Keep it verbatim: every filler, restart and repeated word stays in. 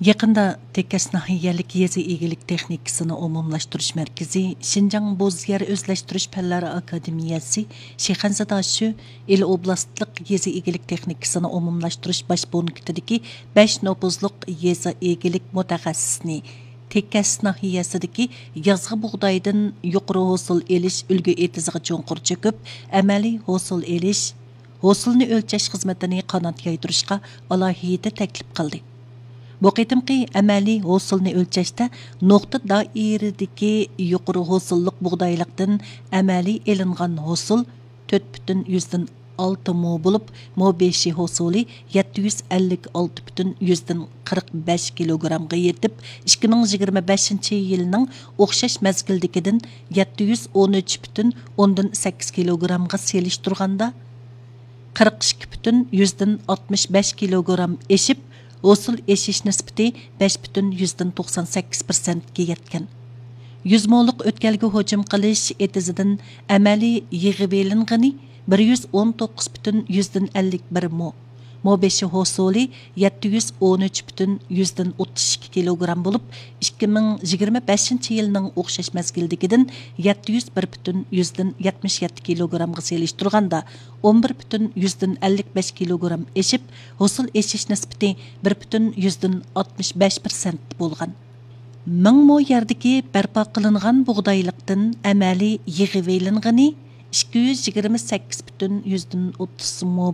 يېقىندا تېكەس ناھىيەلىك يېزا ئىگىلىك تېخنىكىسىنى ئومۇملاشتۇرۇش مەركىزى شىنجاڭ بوز يەر ئۆزلەشتۈرۈش پەنلەر ئاكادېمىيەسى شىخەنزە داشۆ ئىلى ئوبلاستلىق يېزا ئىگىلىك تېخنىكىسىنى ئومۇملاشتۇرۇش باش پونكىتىدىكى بەش نوپۇزلۇق يېزا ئىگىلىك مۇتەخەسسىسىنى، تېكەس ناھىيەسىدىكى يازغى بۇغدايدىن يۇقىرى ھوسۇل ئېلىش ئۈلگە ئېتىزىغا چوڭقۇر چۆكۈپ، ئەمەلىي ھوسۇل ئېلىش، ھوسۇلنى ئۆلچەش خىزمىتىنى قانات يايدۇرۇشقا ئالاھىدە تەكلىپ قىلدى. بۇ قېتىمقى ئەمەلىي ھوسۇلنى ئۆلچەشتە نۇقتا دائىرىدىكى يۇقىرى ھوسۇللۇق بۇغدايلىقتىن ئەمەلىي ئېلىنغان ھوسۇل تۆت پۈتۈن يۈزدىن ئالتە مو بولۇپ، مو بېشى ھوسۇلى يەتتە يۈز ئەللىك ئالتە پۈتۈن يۈزدىن قىرىق بەش كىلوگرامغا يېتىپ، ئىككى مىڭ يىگىرمە بەشىنچى يىلنىڭ ئوخشاش مەزگىلدىكىدىن يەتتە يۈز ئون ئۈچ پۈتۈن ئوندىن سەككىز كىلوگرامغا سېلىشتۇرغاندا، قىرىق ئىككى پۈتۈن يۈزدىن ئاتمىش بەش كىلوگرام ئېشىپ، ھوسۇل ئېشىش نىسبىتى بەش پۈتۈن يۈزدىن توقسان سەككىز پىرسەنتكە يەتكەن. يۈز مولۇق ئۆتكەلگە ھۇجۇم قىلىش ئېتىزىدىن ئەمەلىي يىغىۋېلىنغىنى بىر يۈز ئون توققۇز پۈتۈن يۈزدىن ئەللىك بىر مو. مو بېشى ھوسۇلى يەتتە يۈز ئون ئۈچ پۈتۈن يۈزدىن ئوتتۇز ئىككى كىلوگرام بولۇپ، ئىككى مىڭ يىگىرمە بەشىنچى يىلنىڭ ئوخشاش مەزگىلدىكىدىن يەتتە يۈز بىر پۈتۈن يۈزدىن يەتمىش يەتتە كىلوگرامغا سېلىشتۇرغاندا، ئون بىر پۈتۈن يۈزدىن ئەللىك بەش كىلوگرام ئېشىپ، ھوسۇل ئېشىش نىسبىتى بىر پۈتۈن يۈزدىن ئاتمىش بەش پىرسەنت بولغان. مىڭ مو يەردىكى بەرپا قىلىنغان بۇغدايلىقتىن ئەمەلىي يىغىۋېلىنغىنى ئىككى يۈز يىگىرمە سەككىز پۈتۈن يۈزدىن ئوتتۇز مو